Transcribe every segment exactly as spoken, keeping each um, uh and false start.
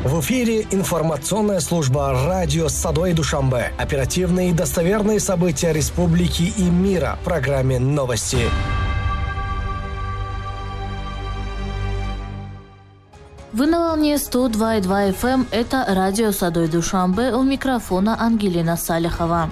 В эфире информационная служба радио «Садои Душанбе». Оперативные и достоверные события республики и мира в программе «Новости». Вы на волне сто два и два эф эм. Это радио «Садои Душанбе». У микрофона Ангелина Салихова.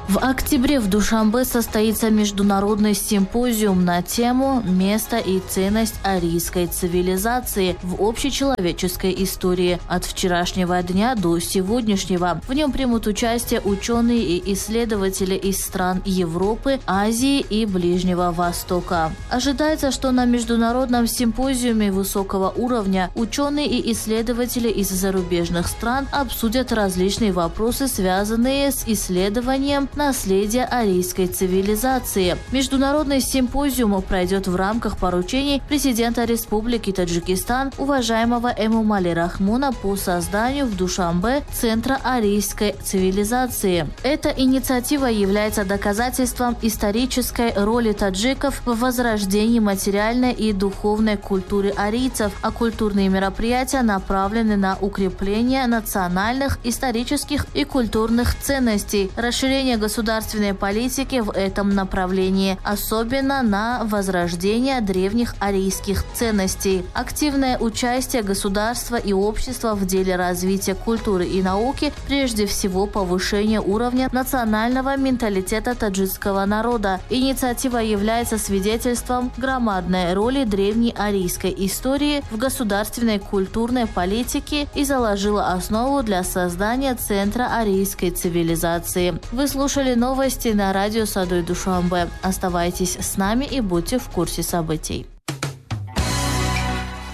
В октябре в Душанбе состоится международный симпозиум на тему «Место и ценность арийской цивилизации в общечеловеческой истории от вчерашнего дня до сегодняшнего». В нем примут участие ученые и исследователи из стран Европы, Азии и Ближнего Востока. Ожидается, что на международном симпозиуме высокого уровня ученые и исследователи из зарубежных стран обсудят различные вопросы, связанные с исследованием наследия арийской цивилизации. Международный симпозиум пройдет в рамках поручений президента Республики Таджикистан уважаемого Эмомали Рахмона по созданию в Душанбе Центра арийской цивилизации. Эта инициатива является доказательством исторической роли таджиков в возрождении материальной и духовной культуры арийцев, а культурные мероприятия направлены на укрепление национальных, исторических и культурных ценностей, расширение государственной политики в этом направлении, особенно на возрождение древних арийских ценностей. Активное участие государства и общества в деле развития культуры и науки, прежде всего повышение уровня национального менталитета таджикского народа. Инициатива является свидетельством громадной роли древней арийской истории в государственной культурной политике и заложила основу для создания Центра арийской цивилизации. Вы слушали новости на радио «Садои Душанбе». Оставайтесь с нами и будьте в курсе событий.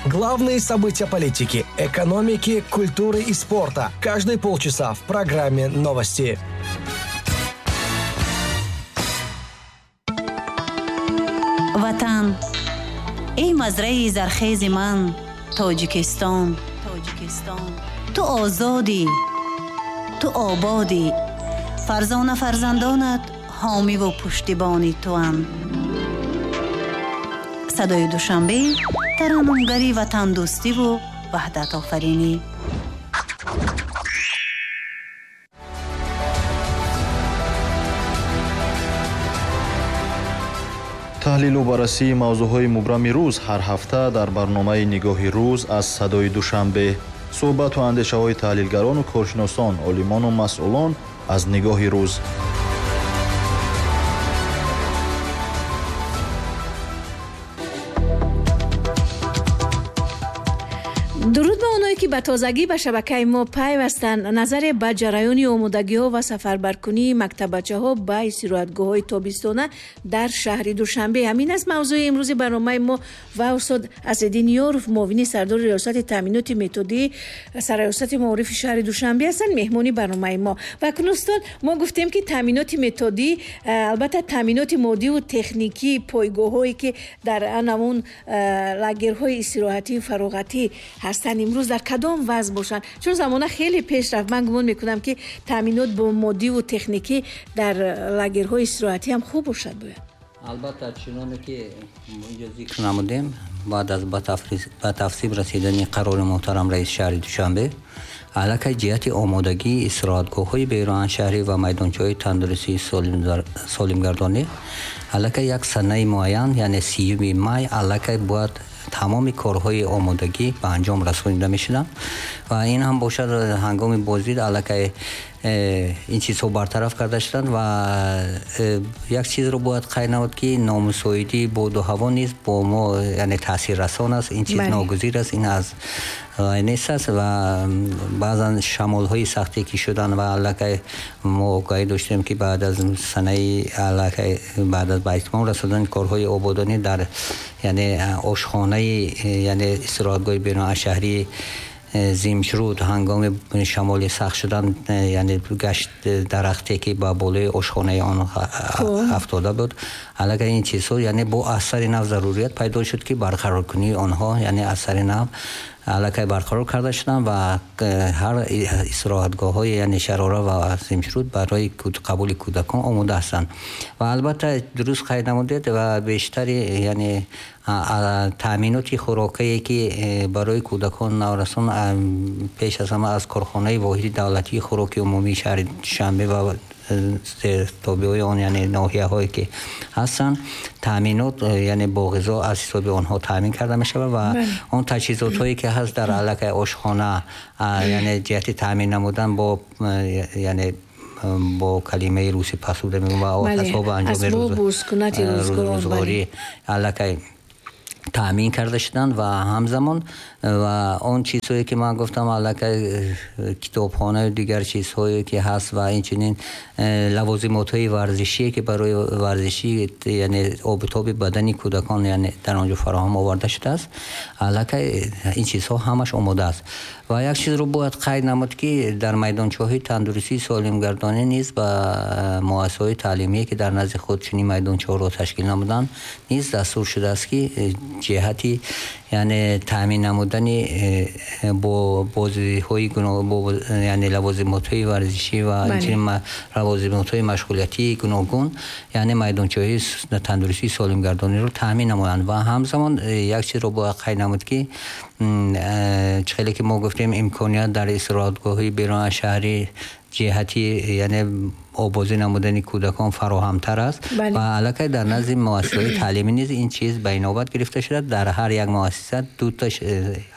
Главные события политики, экономики, культуры и спорта. Каждые полчаса в программе «Новости». Ватан. Эй, мазраи зархези ман, Тоҷикистон. Ту озодӣ, ту ободӣ. Фарзона фарзандонат ҳомиву пуштибони туанд. Садои Душанбе тараннумгари ватандӯстиву ваҳдатофаринӣ. Таҳлилу баррасии мавзӯъҳои мубрами рӯз ҳар ҳафта дар барномаи «Нигоҳи рӯз» аз Садои Душанбе. Суҳбату андешаҳои таҳлилгарону коршиносон, олимону масъулон аз нигоҳи рӯз. Дуруд ба оное ки ба тозагӣ ба шабакаи мо пайвастанд. Назаре ба ҷараёни омодагиҳо ва сафарбаркунии мактаббачаҳо ба истироҳатгоҳҳои тобистона дар шаҳри Душанбе. Ҳамин аст мавзӯи имрӯзи барномаи мо ва устод Асриддин Ёров, муовини сардори риёсати таъминоти методии сарраёсати маорифи шаҳри Душанбе ҳастанд, меҳмони барномаи мо. Ва акнун устод, мо гуфтем ки таъминоти методӣ, албатта таъминоти моддиву техникии пойгоҳҳое ки дар анамун лагерҳои истироҳатию фароғатӣ ҳастанд, имрӯз дар кадом вазъ бошанд? Чун замона хеле пеш рафт, ман гумон мекунам ки таъминот бо моддиву техникӣ дар лагерҳои истироҳатӣ ҳам хуб бошад бояд. Албатта, чуноне ки инҷо зикр намудем, баъд аз ба тафсиб расидани қарори муҳтарам раиси шаҳри Душанбе, аллакай ҷиҳати омодагии истироҳатгоҳҳои беруншаҳрӣ ва майдончаҳои тандурустии солимгардонӣ аллакай як санаи муайян, яъне сиюми май, аллакай бояд тамоми корҳои омодагӣ ба анҷом расонида мешуданд ва ин ҳам бошад ҳангоми боздид аллакай ин чизҳо бартараф карда шуданд. Ва як чизро бояд қайд намуд ки номусоидии боду ҳаво низ бо мо яъне таъсиррасон аст. Ин чиз ногузир аст, ин аз нест аст ва баъзан шамолҳои сахте ки шуданд ва аллакай мо огоҳӣ доштем ки баъд аз санаи аллакай баъд аз ба итмом расондани корҳои ободонӣ дар яъне ошхонаи яъне истироҳатгоҳи берунашаҳрии зимшруд ҳангоми шамоли сахт шудан яъне гашт дарахте ки ба болои ошхонаи он афтода буд, аллакай ин чизҳо яъне бо асари нав зарурият пайдо шуд ки барқароркунии онҳо яъне асари нав аллакай барқарор карда шуданд ва ҳар истироҳатгоҳҳои яъне Шарора ва Симшруд барои қабули кӯдакон омода ҳастанд. Ва албатта дуруст қайд намудед ва бештари яъне таъминоти хӯрокае ки барои кӯдакон наврасон пеш аз ҳама аз корхонаи воҳиди давлатии хӯроки умумии шаҳри Душанбе ва тобеҳои он яъне ноҳияҳое ки ҳастанд таъминот яъне бо ғизо аз ҳисоби онҳо таъмин карда мешавад ва он таҷҳизотҳое ки ҳаст дар аллакай ошхона яъне ҷиҳати таъмин намудан бо яъне бо калимаи русӣ пасуда мегӯям ва асбоби анҷоми рӯзгорӣ аллакай таъмин карда шуданд ва ҳамзамон ва он чизҳое ки ман гуфтам аллакай китобхонаю дигар чизҳое ки ҳаст ва инчунин лавозимотҳои варзишие ки барои варзишӣ яъне обутоби бадани кӯдакон яъне дар он ҷо фароҳам оварда шудааст, аллакай ин чизҳо ҳамаш омода аст. Ва як чизро бояд қайд намуд ки дар майдончаҳои тандурустии солимгардонӣ низ ба муассисаҳои таълимие ки дар назди худ чунин майдончаҳоро ташкил намуданд низ дастур шудааст ки ҷиҳати яъне таъмин намудани бо бозиҳои гуногун яъне лавозимотҳои варзишӣ ва инчунин лавозимотҳои машғулиятии гуногун яъне майдончаҳои тандурустии солимгардониро таъмин намоянд. Ва ҳамзамон як чизро бояд қайд намуд ки чӣ хеле ки мо гуфтем имконият дар истироҳатгоҳҳои берун аз шаҳрӣ ҷиҳати яъне обозӣ намудани кӯдакон фароҳамтар аст ва аллакай дар назди муассисаҳои таълимӣ низ ин чиз ба инобат гирифта шуда. Дар ҳар як муассиса ду та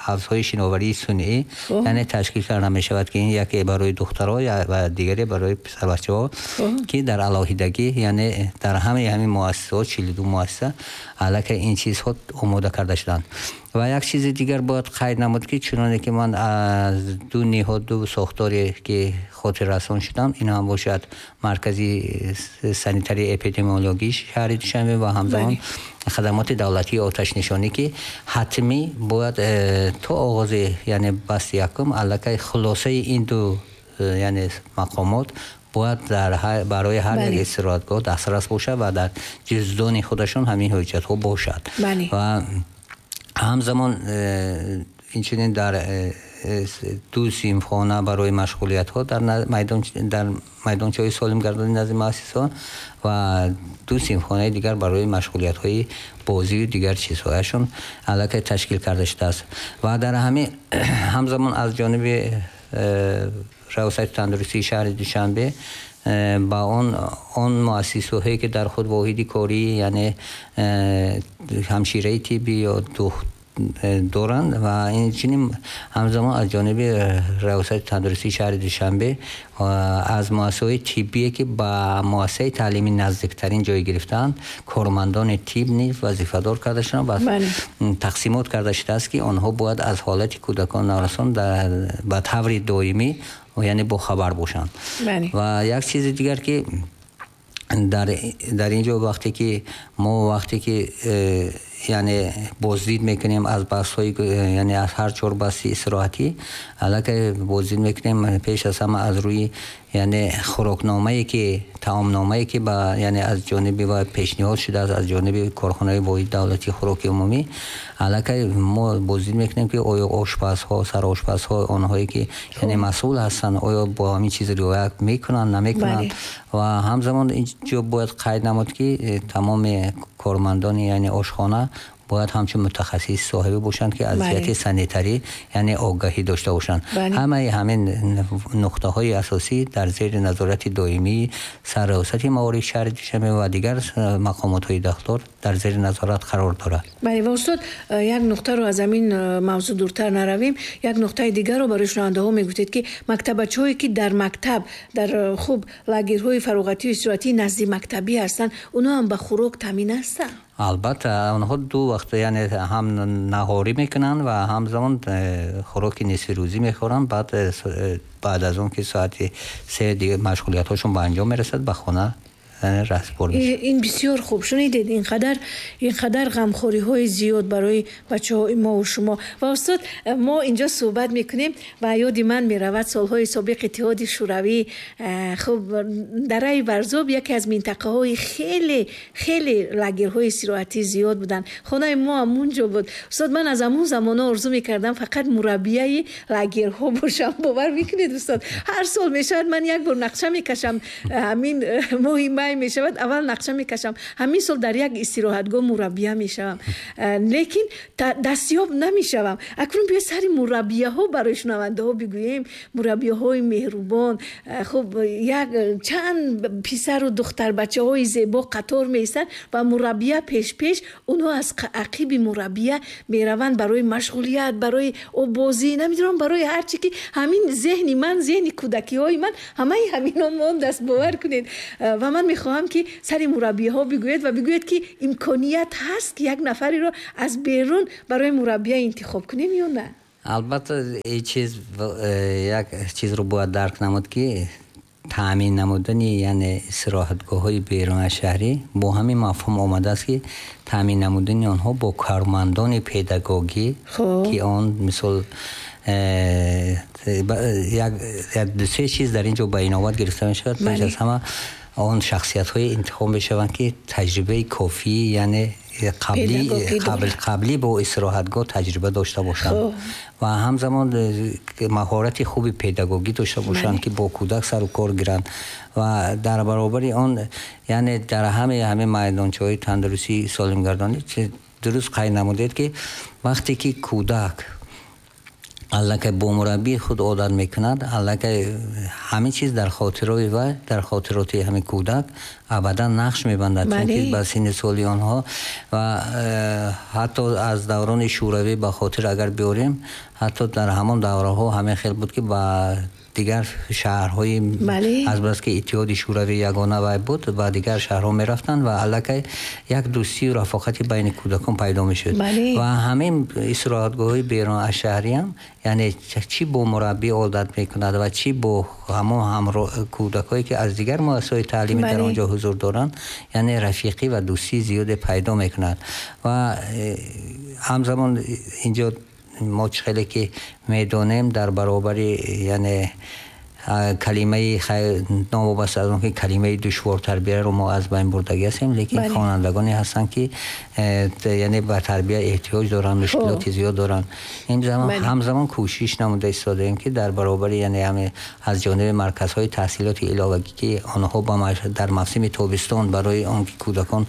ҳавзҳои шиноварии сунъӣ яъне ташкил карда мешавад ки ин яке барои духтарҳо ва дигаре барои писарбачаҳо ки дар алоҳидагӣ яъне дар ҳамаи ҳамин муассисаҳо чилу ду муассиса аллакай ин чизҳо омода карда шуданд. Ва як чизи дигар бояд қайд намуд ки чуноне ки ман аз ду ниҳод ду сохторе ки хотиррасон шудам, ин ҳам бошад маркази санитарии эпидемиологии шаҳри Душанбе ва ҳамзамон хадамоти давлатии оташнишонӣ ки ҳатмӣ бояд то оғози яъне басти якум аллакай хулосаи ин ду яъне мақомот бояд дар барои ҳар як истироҳатгоҳ дастрас бошад ва дар ҷуздони худашон ҳамин ҳуҷҷатҳо бошад. Ва ҳамзамон инчунин дар ду синфхона барои машғулиятҳо дар майдон дар майдончаҳои солимгардонии назди муассисаҳо ва ду синфхонаи дигар барои машғулиятҳои бозию дигар чизҳояшон аллакай ташкил карда шудааст. Ва дар ҳамин ҳамзамон аз ҷониби раёсати тандурустии шаҳри Душанбе ба он он муассисаҳое ки дар худ воҳиди корӣ яъне ҳамшираи тиббӣ ё доранд ва инчунин ҳамзамон аз ҷониби раёсати тандурустии шаҳри Душанбе аз муассисаҳои тиббие ки ба муассисаи таълимӣ наздиктарин ҷой гирифтаанд кормандони тиб низ вазифадор карда шуданд ва тақсимот карда шудааст ки онҳо бояд аз ҳолати кӯдакон наврасон ба таври доимӣ яъне бохабар бошанд. Ва як чизи дигар ки дар дар ин ҷо вақте ки мо вақте ки яъне боздид мекунем аз басҳои яъне аз ҳар чор баси истироҳатӣ аллакай боздид мекунем пеш аз ҳама аз рӯи яъне хӯрокномае ки таомномае ки ба яъне аз ҷониби ва пешниҳод шудааст аз ҷониби корхонаи воҳиди давлатии хӯроки умумӣ аллакай мо боздид мекунем ки оё ошпазҳо сарошпазҳо онҳое ки яъне масъул ҳастанд оё бо ҳамин чиз риоя мекунанд намекунанд. Ва ҳамзамон инҷо бояд қайд намуд ки тамоми кормандони яъне ошхона бояд ҳамчун мутахассис соҳибӣ бошанд ки аз ҷиҳати санитарӣ яъне огаҳӣ дошта бошанд. Ҳамаи ҳамин нуқтаҳои асосӣ дар зери назорати доимии сарраёсати маориф шаҳри Душанбе ва дигар мақомотҳои дахлдор дар зери назорат қарор дорад. Бале, ва устод, як нуқтаро аз ҳамин мавзӯъ дуртар наравем, як нуқтаи дигарро барои шунавандаҳо мегуфтед ки мактабачаҳое ки дар мактаб дар хуб лагерҳои фароғатию истироҳатӣ назди мактабӣ ҳастанд, онҳо ҳам ба хӯрок таъмин ҳастанд? Албатта, онҳо ду вақт яъне ҳам наҳорӣ мекунанд ва ҳамзамон хӯроки нисфирӯзӣ мехӯранд. Баъд баъд аз он ки соати се машғулиятҳошон ба анҷом мерасад ба хона раҳсупор мешавад. Ин бисёр хуб шунидед, инқадар инқадар ғамхориҳои зиёд барои бачаҳои мо ва шумо. Ва устод, мо инҷо суҳбат мекунем ва ёди ман меравад солҳои собиқ Иттиҳоди Шӯравӣ. Хуб, дараи Варзоб яке аз минтақаҳои хеле хеле лагерҳои истироҳатӣ зиёд буданд. Хонаи мо ҳам унҷо буд. Устод, ман аз ҳамон замонҳо орзу мекардам фақат мураббияи лагерҳо бошам. Бовар мекунед устод, ҳар сол мешавад ман як бор нақша мекашам, ҳамин моҳи май мешавад, аввал нақша мекашам, ҳамин сол дар як истироҳатгоҳ мураббия мешавам, лекин дастёб намешавам. Акнун биё сари мураббияҳо барои шунавандаҳо бигӯем. Мураббияҳои меҳрубон, хуб, як чанд писару духтарбачаҳои зебо қатор меистанд ва мураббия пеш-пеш, онҳо аз ақиби мураббия мераванд барои машғулият, барои оббозӣ, намедонам барои ҳар чи ки ҳамин зеҳни ман, зеҳни кӯдакиҳои ман ҳамаи ҳамино мондааст, бовар кунед. Ва ман мехоҳам ки сари мураббияҳо бигӯед ва бигӯед ки имконият ҳаст ки як нафареро аз берун барои мураббия интихоб кунем ё на? Албатта, ин чиз як чизро бояд дарк намуд, ки таъмин намудани яъне истироҳатгоҳҳои берун аз шаҳрӣ бо ҳамин мафҳум омадааст, ки таъмин намудани онҳо бо кормандони педагогӣ, ки он мисол як ду се чиз дар ин ҷо ба инобат гирифта мешавад. Пеш аз ҳама он шахсиятҳое интихоб мешаванд, ки таҷрибаи кофӣ, яъне қаблӣ қабл қаблӣ бо истироҳатгоҳ таҷриба дошта бошанд ва ҳамзамон маҳорати хуби педагогӣ дошта бошанд, ки бо кӯдак сару кор гиранд ва дар баробари он яъне дар ҳамаи ҳамин майдончаҳои тандурустӣ солимгардонӣ дуруст қайд намудед, ки вақте ки кӯдак аллакай бо мураббии худ одат мекунад, аллакай ҳамин чиз дар хотирои вай, дар хотироти ҳамин кӯдак абадан нақш мебандад, чунки ба синни соли онҳо ва ҳатто аз даврони шӯравӣ ба хотир агар биёрем, ҳатто дар ҳамон давраҳо ҳамин хел буд, ки ба дигар шаҳрҳои аз бас ки Иттиҳоди Шӯравӣ ягона вай буд, ба дигар шаҳрҳо мерафтанд ва аллакай як дӯстию рафоқати байни кӯдакон пайдо мешуд. Ва ҳамин истироҳатгоҳҳои берун аз шаҳриам, яъне чӣ бо мураббӣ одат мекунад ва чӣ бо ҳамон ҳамро кӯдакҳое ки аз дигар муассисаҳои таълимӣ дар он ҷо ҳузур доранд, яъне рафиқӣ ва дӯстии зиёде пайдо мекунад. Ва ҳамзамон инҷо мо чӣ хеле ки медонем, дар баробари яъне калимаи новобаста аз он ки калимаи душвор тарбияро мо аз байн бурдагӣ ҳастем, лекин хонандагоне ҳастанд, ки яъне ба тарбия эҳтиёҷ доранд, мушкилоти зиёд доранд. Ин замон ҳамзамон кӯшиш намуда истодаем, ки дар баробари яъне ҳаме аз ҷониби марказҳои таҳсилоти иловагӣ, ки онҳо дар мавсими тобистон барои он ки кӯдакон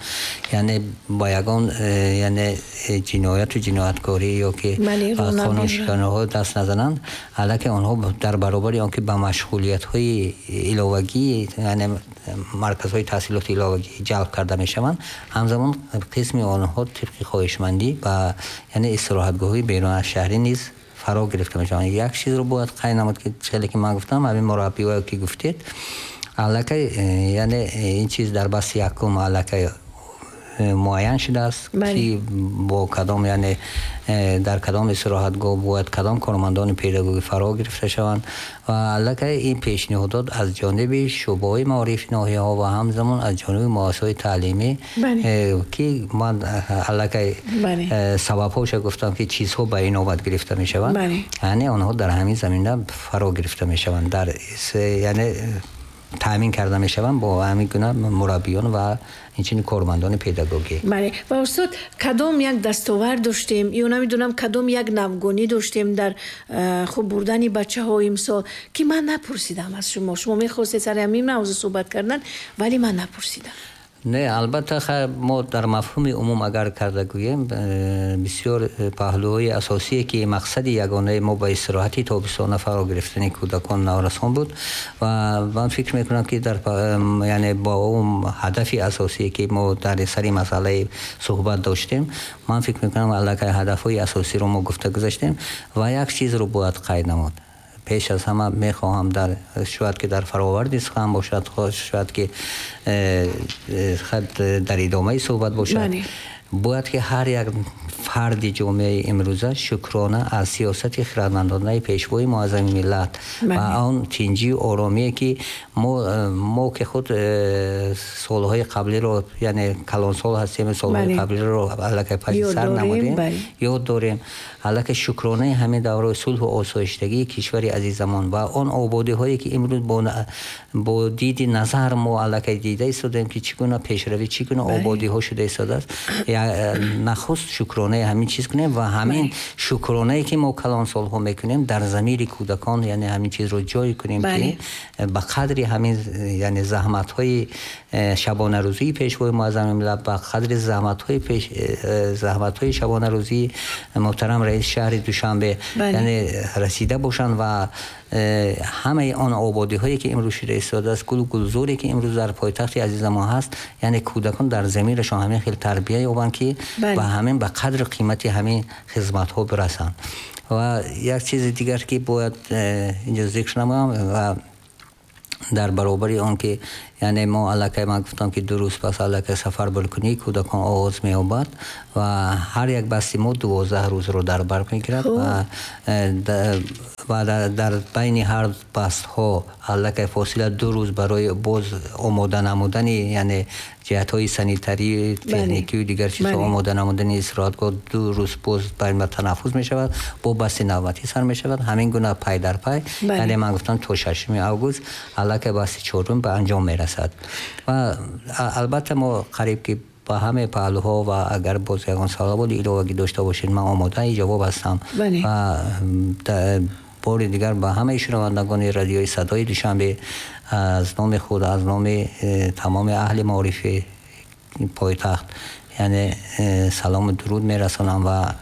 яъне ба ягон яъне ҷинояту ҷинояткорӣ ё ки қонуншиканиҳо даст назананд, аллакай онҳо дар баробари он ки ба машғулиятҳои иловагӣ, яъне марказҳои таҳсилоти иловагӣ ҷалб карда мешаванд, ҳамзамон қисми онҳо тибқи хоҳишмандӣ ба яъне истироҳатгоҳҳои берун аз шаҳрӣ низ фаро гирифта мешаванд. Як чизро бояд қайд намуд, ки хеле ки ман гуфтам, ҳамин мураббиҳое ки гуфтед, аллакай яъне ин чиз дар басти якум аллакай муайян шудааст, ки бо кадом яъне дар кадом истироҳатгоҳ бояд кадом кормандони педагогӣ фаро гирифта шаванд ва аллакай ин пешниҳодот аз ҷониби шӯъбаҳои маорифи ноҳияҳо ва ҳамзамон аз ҷониби муассисаҳои таълимӣ, ки ман аллакай сабабҳоша гуфтам, ки чизҳо ба инобат гирифта мешаванд, яъне онҳо дар ҳамин замина фаро гирифта мешаванд, дар яъне таъмин карда мешаванд бо ҳамин гуна мураббиён ва инчунин кормандони педагогӣ. Бале. Ва устод, кадом як дастовард доштем ё намедонам кадом як навгонӣ доштем дар хуб бурдани бачаҳо имсол, ки ман напурсидам аз шумо? Шумо мехостед сари ҳамин мавзӯъ суҳбат кардан, вале ман напурсидам. Не, албатта мо дар мафҳуми умум агар карда гӯем, бисёр паҳлӯҳои асосие ки мақсади ягонаи мо ба истироҳати тобистона фаро гирифтани кӯдакон наврасон буд ва ман фикр мекунам, ки дар яъне бо он ҳадафи асосие ки мо дар сари масъалаи суҳбат доштем, ман фикр мекунам аллакай ҳадафҳои асосиро мо гуфта гузаштем. Ва як чизро бояд қайд намуд. Пеш аз ҳама мехоҳам дар шояд ки дар фароварди сухан бошад, шояд ки дар идомаи суҳбат бошад, бояд ки ҳар як фарди ҷомеаи имрӯза шукрона аз сиёсати хирадмандонаи пешвои муаззами миллат ва он тинҷию оромие ки мо мо ки худ солҳои қаблиро, яъне калонсол ҳастем, солҳои қаблиро аллакай паси сар намудем, ёд дорем. Аллакай шукронаи ҳамин давраи сулҳу осоиштагии кишвари азизамон ва он ободиҳое ки имрӯз бо диди назар мо аллакай дида истодаем ки чӣ гуна пешравӣ, чӣ гуна ободиҳо шуда истодааст, нахуст шукронаи ҳамин чиз кунем ва ҳамин шукронае ки мо калонсолҳо мекунем дар замири кӯдакон, яъне ҳамин чизро ҷой кунем ки ба қадри ҳамин, яъне заҳматҳои шабонарӯзии пешвои муаззами миллат, ба қадри заҳматҳои пеш заҳматҳои шабонарӯзии муҳтарам раиси шаҳри Душанбе, яъне расида бошанд ва ҳамаи он ободиҳое ки имрӯз шуда истодааст, гулу гулзоре ки имрӯз дар пойтахти азизамон ҳаст, яъне кӯдакон дар замирашон ҳамин хел тарбия ёбанд ки ба ҳамин ба қадру қимати ҳамин хизматҳо бирасанд. Ва як чизи дигар ки бояд инҷо зикр намоям ва дар баробари он ки яъне мо аллакай ман гуфтам ки ду рӯз пас аллакай сафарбаркунии кӯдакон оғоз меёбад ва ҳар як басти мо дувоздаҳ рӯзро дар бар мегирад ва ва дар байни ҳар бастҳо аллакай фосила ду рӯз барои боз омода намудани, яъне ҷиҳатҳои санитарӣ, техникию дигар чизҳо омода намудани истироҳатгоҳ ду рӯз боз байни танаффус мешавад, бо басти навбатӣ сар мешавад. Ҳамин гуна пай дар пай, яъне ман гуфтам то шашуми август аллакай басти чорум ба анҷом мерасад. Ва албатта мо қариб ки ба ҳамаи паҳлӯҳо ва агар боз ягон саволи иловагӣ дошта бошед, ман омодаи ҷавоб ҳастам. Ва бори дигар ба ҳамаи шунавандагони радиои Садои Душанбе аз номи худ, аз номи тамоми аҳли маорифи пойтахт, яъне салому дуруд мерасонам ва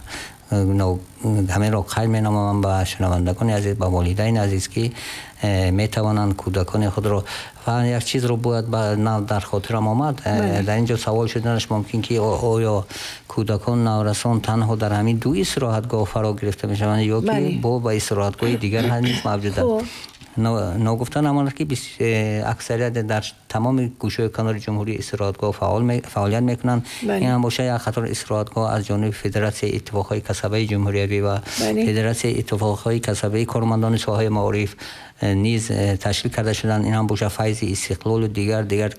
ҳаминро қайд менамоям ба шунавандагони азиз, ба волидайни азиз ки метавонанд кӯдакони худро. Ва як чизро бояд дар хотирам омад, дар ин ҷо савол шуданаш мумкин ки оё кӯдакон наврасон танҳо дар ҳамин ду истироҳатгоҳ фаро гирифта мешаванд ё ки бо ба истироҳатгоҳи дигар низ мавҷуд аст. Ногуфта намонад ки аксарият дар тамоми гӯшаи канори ҷумҳурӣ истироҳатгоҳ фаъолият мекунанд. Ин ҳам бошад як қатор истироҳатгоҳ аз ҷониби Федератсияи иттифоқҳои касабаи ҷумҳуриявӣ ва Федератсияи иттифоқҳои касабаи кормандони соҳаи маориф низ ташкил карда шуданд. Ин ҳам бошад Файзи Истиқлолу дигар дигар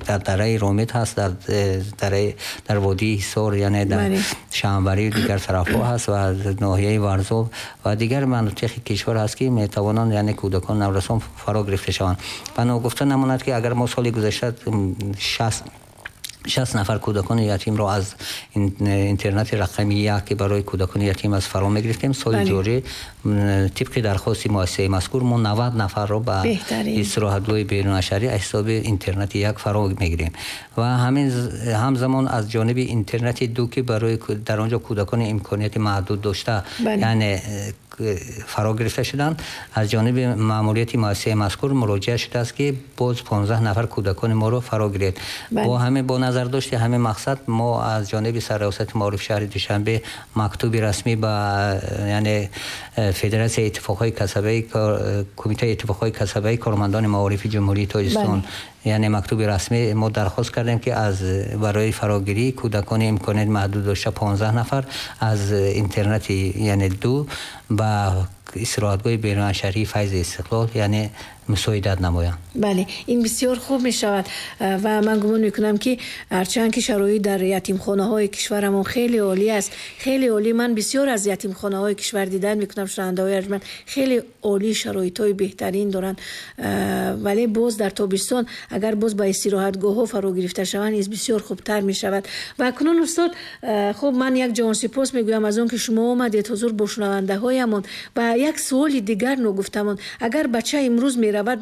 дар дараи Ромит ҳаст, дар дараи дар водии Ҳисор, яъне дар Шаҳанбарию дигар тарафҳо ҳаст ва ноҳияи Варзоб ва дигар манотиқи кишвар ҳаст ки метавонанд, яъне кӯдакон наврасон фаро гирифта шаванд. Ва ногуфта намонад ки агар мо соли гузашта шаст шаст нафар кӯдакони ятимро аз интернати рақами як ки барои кӯдакони ятим аст фаро мегирифтем, соли ҷорӣ тибқи дархости муассисаи мазкур мо навад нафарро ба истироҳатгоҳи берунашаҳрӣ аз ҳисоби интернати як фаро мегирем ва ҳамин ҳамзамон аз ҷониби интернати ду ки барои дар он ҷо кӯдакони имконияти маҳдуд дошта, яъне фаро гирифта шуданд, аз ҷониби маъмурияти муассисаи мазкур муроҷиат шудааст ки боз понздаҳ нафар кӯдакони моро фаро гиред. Бо ҳамин бо назардошти ҳамин мақсад мо аз ҷониби сарраёсати маориф шаҳри Душанбе мактуби расмӣ ба, яъне Федератсияи иттифоқҳои касабаи Кумитаи иттифоқҳои касабаи кормандони маорифи Ҷумҳурии Тоҷикистон, яъне мактуби расмӣ мо дархост кардем ки аз барои фарогирии кӯдакони имконият маҳдуд дошта понздаҳ нафар аз интернати, яъне ду ба истироҳатгоҳи берунашаҳрии Файзи Истиқлол, яъне мусоидат намоянд. Бале, ин бисёр хуб мешавад ва ман гумон мекунам ки ҳарчанд ки шароит дар ятимхонаҳои кишварамон хеле олӣ аст, хеле олӣ, ман бисёр аз ятимхонаҳои кишвар дидан мекунам, шунавандаҳои арҷманд хеле олӣ, шароитҳои беҳтарин доранд, вале боз дар тобистон агар боз ба истироҳатгоҳҳо фаро гирифта шаванд низ бисёр хубтар мешавад. Ва акнун устод, хуб ман як ҷаҳонсипос мегӯям аз он ки шумо омадед ҳузур бо шунавандаҳоямон. Ва як суоли дигар ногуфтамон, агар бача имрӯз меравад,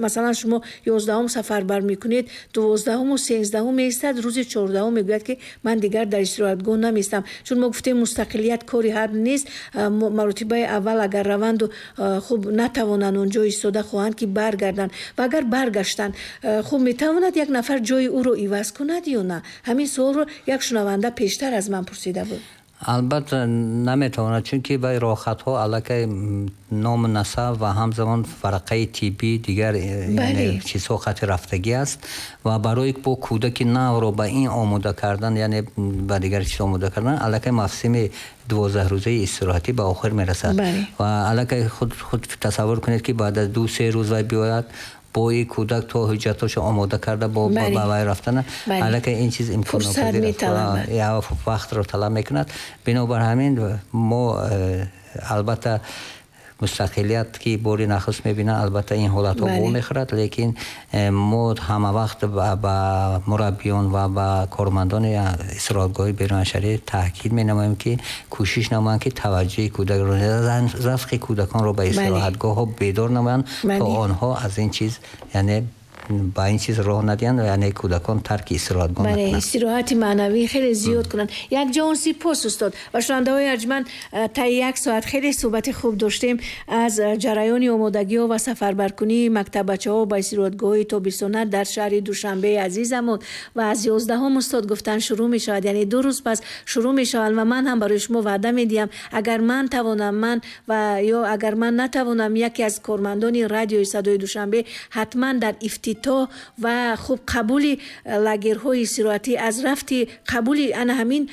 масалан шумо ёздаҳум сафарбар мекунед, дувоздаҳуму сенздаҳум меистад, рӯзи чордаҳум мегӯяд ки ман дигар дар истироҳатгоҳ намеистам, чун мо гуфтем мустақилият кори ҳар нест. Маротибаи аввал агар раванду хуб натавонанд онҷо истода, хоҳанд ки баргарданд, ва агар баргаштанд хуб метавонад як нафар ҷои ӯро иваз кунад ё на? Ҳамин суолро як шунаванда пештар аз ман пурсида буд. Албатта наметавонад, чунки вай роҳхатҳо аллакай ному насаб ва ҳамзамон варақаи тиббӣ дигар чизҳо хати рафтагӣ аст ва барои бо кӯдаки навро ба ин омода кардан, яъне ба дигар чиз омода кардан, аллакай мавсими дувоздаҳ рӯзаи истироҳатӣ ба охир мерасад ва аллакай худ худ тасаввур кунед, ки баъд аз ду се рӯз вай биёяд бо ин кӯдак то ҳуҷҷатҳошо омода карда бо ба вай рафтана, аллакай ин чиз имконнопазир аст, вақтро талаб мекунад. Бинобар ҳамин мо албатта мустақилият ки бори нахуст мебинанд, албатта ин ҳолатҳо вомехӯрад, лекин мо ҳама вақт ба мураббиён ва ба кормандони истироҳатгоҳи берунашаҳрӣ таъкид менамоем, ки кӯшиш намоянд, ки таваҷҷӯҳи кӯдакро, завқи кӯдаконро ба истироҳатгоҳҳо бедор намоянд, то онҳо аз ин чиз, яъне ба ин чиз роҳ надиҳанд, яъне кӯдакон тарки истироҳатгоҳ накунанд. Истироҳати маънавӣ хеле зиёд кунанд. Як ҷаҳон сипос, устод. Ва шунавандаҳои арҷманд, таи як соат хеле суҳбати хуб доштем аз ҷараёни омодагиҳо ва сафарбаркунии мактаббачаҳо ба истироҳатгоҳҳои тобистона дар шаҳри Душанбеи азизамон ва аз ёздаҳум устод гуфтан шурӯъ мешавад, яъне ду рӯз пас шурӯъ мешаванд ва ман ҳам барои шумо ваъда медиҳам, агар ман тавонам ман ва ё агар ман натавонам, яке аз кормандони радиои Садои Душанбе ҳатман дар ифтитоҳ ва хуб қабули лагерҳои истироҳатӣ аз рафти қабули ана ҳамин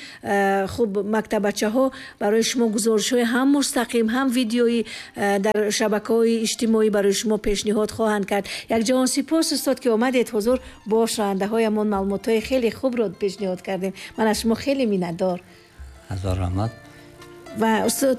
хуб мактабачаҳо барои шумо гузоришҳои ҳам мустақим ҳам видеоӣ дар шабакаҳои иҷтимоӣ барои шумо пешниҳод хоҳанд кард. Як ҷаҳон сипос, устод, ки омадед ҳузур бо шунавандаҳоямон маълумотҳои хеле хубро пешниҳод кардем. Ман аз шумо хеле миннатдор. Ҳазор раҳмат. Ва устод,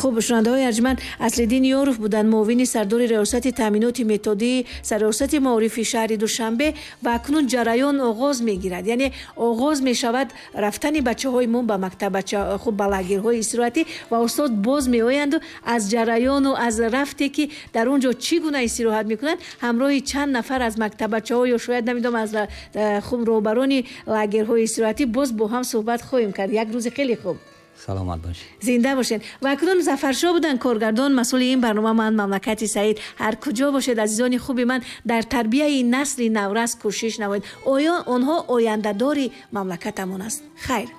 хуб, шунавандаҳои арҷманд, Аслиддин Ёров буданд, муовини сардори риёсати таъминоти методии сарриёсати маорифи шаҳри Душанбе ва акнун ҷараён оғоз мегирад, яъне оғоз мешавад рафтани бачаҳои мо ба мактабача, хуб, ба лагерҳои истироҳатӣ ва устод боз меоянду аз ҷараёну аз рафте ки дар он ҷо чӣ гуна истироҳат мекунанд, ҳамроҳи чанд нафар аз мактабачаҳо ё шояд намедонам аз хуб роҳбарони лагерҳои истироҳатӣ боз бо ҳам суҳбат хоҳем кард. Як рӯзи хеле хуб. Саломат бошед. Зинда бошед. Ва акнун Зафаршоҳ буданд коргардон, масъули ин барнома ман Мамлакати Саид. Ҳар куҷо бошед, азизони хуби ман, дар тарбияи насли наврас кӯшиш намоед. Оё онҳо ояндадори мамлакатамон аст. Хайр.